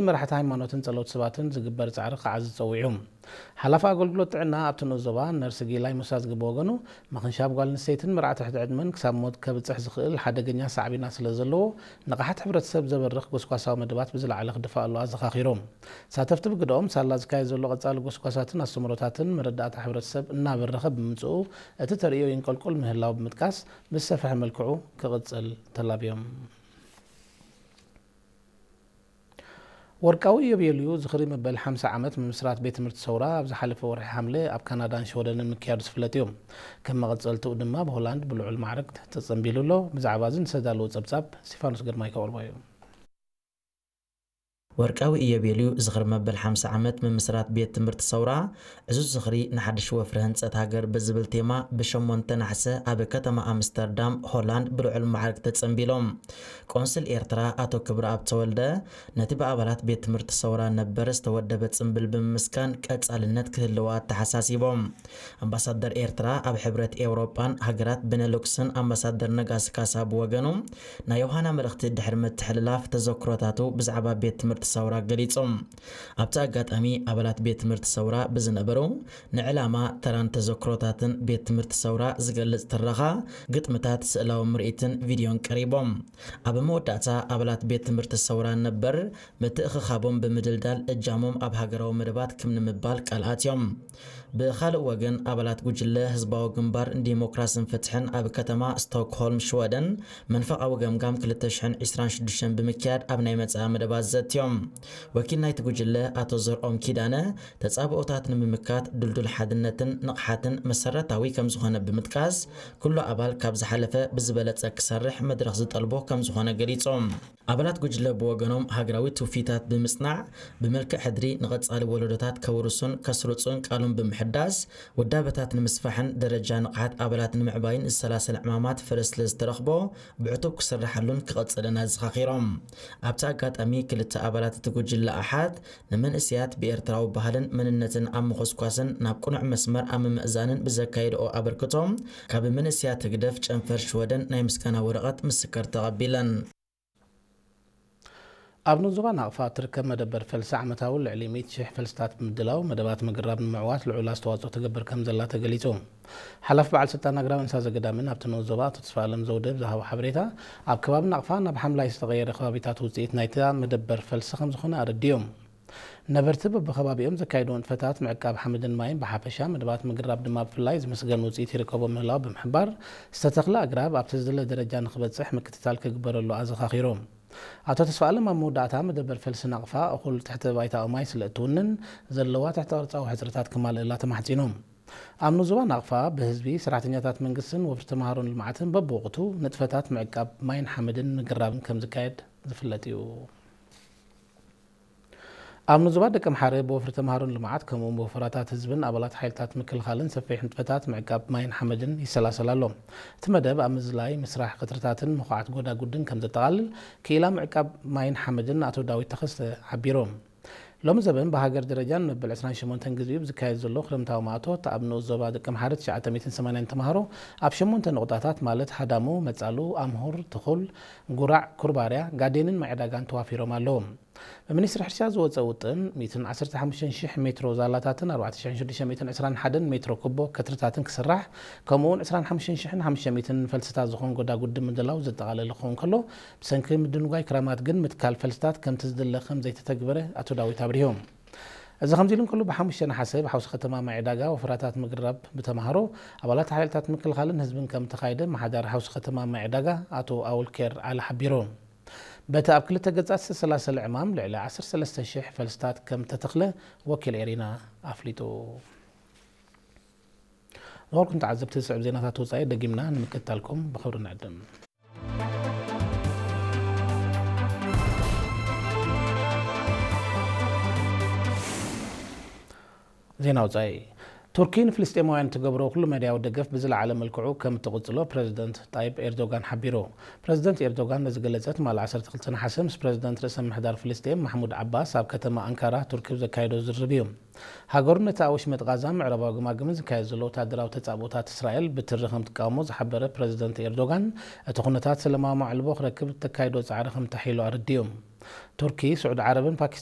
መራሕቲ ሃይማኖትን ጸለውቲ ሰባትን ዝግበር ጻዕሪ ክዓዝዝ ጸዊዑ። ሓላፊ ኣገልግሎት ጥዕና ኣብቲ ንኡስ ዞባ ነርስ ጊላይ ሙሳ ዝግበ ወገኑ፣ ምኽንሻብ ጓል ኣንስተይትን መርዓ ትሕቲ ዕድመን ክሳብ ሞት ከብጽሕ ዝኽእል ሓደገኛ ሳዕቤናት ስለ ዘለዎ፣ ንቕሓት ሕብረተሰብ ዘበርኽ ጎስጓሳዊ መደባት ብዝለዓለ ክድፋእ ኣሎ ኣዘኻኺሮም። ተሳተፍቲ ብግደኦም፣ ሳላ ዝካየድ ዘሎ ቀጻሊ ጎስጓሳትን ኣስተምህሮታትን መረዳእታ ሕብረተሰብ እናበረኸ ብምምጽኡ፣ እቲ ተርእዮ ይንቀልቁል ምህላው ብምጥቃስ፣ ብዝሰፍሐ መልክዑ ክቕጽል ተላብዮም። ወርቃዊ ኢዮቤልዩ ዝኽሪ መበል ሓምሳ ዓመት ምምስራት ቤት ትምህርቲ ሰውራ ኣብ ዝሓለፈ ወርሒ ሓምለ ኣብ ካናዳን ሽወደንን ምክያዱ ዝፍለጥ እዩ። ከም መቐጸልትኡ ድማ ብሆላንድ ብልዑል ማዕርግ ተጸንቢሉ ኣሎ። ብዛዕባ እዚ ንሰዳለዎ ጸብጻብ ስቲፋኖስ ግርማይ ከቕርቦ እዩ። ወርቃዊ ኢዮቤልዩ ዝኽሪ መበል ሓምሳ ዓመት ምምስራት ቤት ትምህርቲ ሰውራ ዕዙዝ ዝኽሪ ንሓድሽ ወፍሪ ህንጸት ሃገር ብዝብል ቴማ ብሸሞንተ ናሕሰ ኣብ ከተማ ኣምስተርዳም ሆላንድ ብልዑል ማዕርግ ተጸንቢሎም። ቆንስል ኤርትራ ኣቶ ክብረኣብ ተወልደ ነቲ ብኣባላት ቤት ትምህርቲ ሰውራ ነበር ዝተወደበ ጽምብል ብምምስጋን ቀጻልነት ክህልዋ ኣተሓሳሲቦም። ኣምባሳደር ኤርትራ ኣብ ሕብረት ኤውሮጳን ሃገራት ቤነሉክስን ኣምባሳደር ነጋሲ ካሳ ብወገኑ ናይ ዮሃና መልእኽቲ ድሕሪ ምትሕልላፍ ተዘክሮታቱ ብዛዕባ ቤት ትምህርቲ ሰውራ ገሊጹ። ኣብቲ ኣጋጣሚ ኣባላት ቤት ትምህርቲ ሰውራ ብዝነበሩ ንዕላማ፣ ተራን ተዘክሮታትን ቤት ትምህርቲ ሰውራ ዝገልጽ ትረኻ፣ ግጥምታት፣ ስእላዊ ምርኢትን ቪድዮን ቀሪቦም። ኣብ መወዳእታ ኣባላት ቤት ትምህርቲ ሰውራ ነበር ምትእኽኻቦም ብምድልዳል እጃሞም ኣብ ሃገራዊ መደባት ክም ንምባል ቃል ኣትዮም። ብኻልእ ወገን ኣባላት ጉጅለ ህዝባዊ ግንባር ንዲሞክራስን ፍትሕን ኣብ ከተማ ስቶክሆልም ሽወደን መንፈቓዊ ገምጋም ክልተ ሽሕን ዕስራን ሽዱሽተን ብምክያድ ኣብ ናይ መጻኢ መደባት ዘትዮም። ወኪል ናይቲ ጉጅለ ኣቶ ዘርኦም ኪዳነ ተጻብኦታት ንምምካት ድልዱል ሓድነትን ንቕሓትን መሰረታዊ ከም ዝኾነ ብምጥቃስ ኩሉ ኣባል ካብ ዝሓለፈ ብዝበለጸ ክሰርሕ መድረኽ ዝጠልቦ ከም ዝኾነ ገሊጾም። ኣባላት ጉጅለ ብወገኖም ሃገራዊ ትውፊታት ብምጽናዕ ብመልክዕ ሕድሪ ንቐጻሊ ወለዶታት ከውርሱን ከስርጹን ቃሎም ብምሕዳስ ውዳበታት ንምስፋሕን ደረጃ ንቕሓት ኣባላት ንምዕባይን ዝሰላሰል ዕማማት ፍረ ስለ ዝተረኽቦ ብዕቱብ ክስርሓሉን ክቐጽልን ኣዘኻኺሮም። ኣብቲ ኣጋጣሚ ክልተ ኣባላት እቲ ጉጅለ ኣሓት ንመንእሰያት ብኤርትራዊ ባህልን መንነትን ኣብ ምኹስኳስን ናብ ቅኑዕ መስመር ኣብ ምምእዛንን ብዘካየድኦ ኣበርክቶ ካብ መንእሰያት ህግደፍ ጨንፈር ሽወደን ናይ ምስጋና ወረቐት ምስክር ተቐቢለን። ኣብ ንኡስ ዞባ ናቕፋ እትርከብ መደበር ፈልሲ ዓመታዊ ልዕሊ ሚእቲ ሽሕ ፈልስታት ብምድላው መደባት ምግራብ ንምዕዋት ልዑል ኣስተዋጽኦ ትገብር ከም ዘላ ተገሊጹ። ሓላፊ በዓል ስልጣን ኣግራብ እንስሳ ዘገዳምን ኣብቲ ንኡስ ዞባ ኣቶ ተስፋኣለም ዘውደ ብዝሃቦ ሓበሬታ፣ ኣብ ከባቢ ናቕፋ ናብ ሓምላይ ዝተቐየረ ከባቢታት ውጽኢት ናይታ መደበር ፈልሲ ከም ዝኾነ ኣረዲኦም። ነበርቲ በብኸባቢኦም ዘካየድዎ ንጥፈታት ምዕቃብ ሓመድን ማይን ብሓፈሻ መደባት ምግራብ ድማ ብፍላይ ዝምስገን ውጽኢት ይርከቦ ምህላው ብምሕባር፣ ዝተተኽለ ኣግራብ ኣብቲ ዝድለ ደረጃ ንክበጽሕ ምክትታል ክግበረሉ ኣዘኻኺሮም። ኣቶ ተስፋኣለም ኣብ መወዳእታ መደበር ፈልሲ ናቕፋ እኹል ትሕተ ባይታዊ ማይ ስለ እትውንን ዘለዋ ትሕተ ቅርጻዊ ሕጽረታት ክማልእላ ተማሕጺኖም። ኣብ ንኡስ ዞባ ናቕፋ ብህዝቢ፣ ሰራሕተኛታት መንግስትን ወፍሪ ተምሃሮን ልምዓትን በብወቕቱ ንጥፈታት ምዕቃብ ማይን ሓመድን ምግራብን ከም ዝካየድ ዝፍለጥ እዩ። ኣብ ንኡስ ዞባ ደቀምሓረ ብወፍሪ ተምሃሮን ልምዓት ከምኡውን ብወፈራታት ህዝብን ኣባላት ሓይልታት ምክልኻልን ሰፊሕ ንጥፈታት ምዕቃብ ማይን ሓመድን ይሰላሰል ኣሎ። እቲ መደብ ኣብ ምዝላይ፣ ምስራሕ ቀጽርታትን ምኹዓት ጎዳጉድን ከም ዘጠቓልል ክኢላ ምዕቃብ ማይን ሓመድን ኣቶ ዳዊት ተኸስተ ሓቢሮም። ሎሚ ዘበን ብሃገር ደረጃ ንመበል ዕስራን ሸሞንተን ግዜኡ ብዝካየድ ዘሎ ክረምታዊ ማእቶት ኣብ ንኡስ ዞባ ደቀምሓረ ትሽዓተ ሚእትን ሰማንያን ተምሃሮ ኣብ ሸሞንተ ነቑጣታት ማለት ሃዳሙ፣ መጻሉ፣ ኣምሁር፣ ትኹል፣ ጉራዕ፣ ኩርባርያ፣ ጋዴንን ማይ ዕዳጋን ተዋፊሮም ኣለዉ። ብሚኒስትሪ ሕርሻ ዝወጸ ውጥን፣ ሚእትን ዓሰርተ ሓሙሽተን ሽሕ ሜትሮ ዛላታትን ኣርባዕተ ሽሕን ሽዱሽተ ሚእትን ዕስራን ሓደን ሜትሮ ኩቦ ከትርታትን ክስራሕ፣ ከምኡውን ዕስራን ሓሙሽተን ሽሕን ሓሙሽተ ሚእትን ፈልስታት ዝኾን ጎዳጉዲ ምድላው ዘጠቓለለ ክኸውን ከሎ፣ ብሰንኪ ምድንጓይ ክራማት ግን ምትካል ፈልስታት ከምቲ ዝድለ ከም ዘይተተግበረ ኣቶ ዳዊት ኣብሪሆም። እዚ ከምዚ ኢሉ እንከሎ፣ ብሓሙሽተ ነሓሰ ብሓውሲ ከተማ ማይ ዕዳጋ ወፈራታት ምግራብ ብተምሃሮ፣ ኣባላት ሓይልታት ምክልኻልን ህዝብን ከም ተኻየደ፣ ኣመሓዳሪ ሓውሲ ከተማ ማይ ዕዳጋ ኣቶ ኣውልኬር ዓሊ ሓቢሩ። በቲ ኣብ ክልተ ገጻት ዝተሰላሰለ ዕማም፣ ልዕሊ ዓሰርተ ሰለስተ ሽሕ ፈልስታት ከም ተተኽለ ወኪል ኤሪና ኣፍሊጡ። ዝኸበርኩም ተዓዘብቲ፣ ዝስዕብ ዜናታት ወጻኢ ደጊምና ንምክትታልኩም ብኽብሪ ንዕድም። ዜና ወጻኢ። ቱርኪ ንፍልስጤማውያን እትገብሮ ኩሉ መዳያዊ ደገፍ ብዝለዓለ መልክዑ ከም እትቕጽሎ ፕረዚደንት ጣይብ ኤርዶጋን ሓቢሩ። ፕረዚደንት ኤርዶጋን ነዚ ገለጸ ትማሊ ዓሰርተ ክልተ ነሓሰ ምስ ፕረዚደንት ርእሰ ምምሕዳር ፍልስጤም ማሕሙድ ዓባስ ኣብ ከተማ ኣንካራ ቱርኪ ብዘካየዶ ዝርርብ እዩ። ሃገሩ ነቲ ኣብ ወሽመጥ ቃዛ ምዕራባዊ ግማግምን ዝካየድ ዘሎ ወታደራዊ ተጻብኦታት እስራኤል ብትሪ ከም ትቃወሞ ዝሓበረ ፕረዚደንት ኤርዶጋን፣ እቲ ኩነታት ሰላማዊ ማዕልቦ ክረክብ እተካይዶ ጻዕሪ ከም ተሓይሎ ኣረዲኡ። ቱርኪ፣ ስዑዲ ዓረብን ፓኪስታን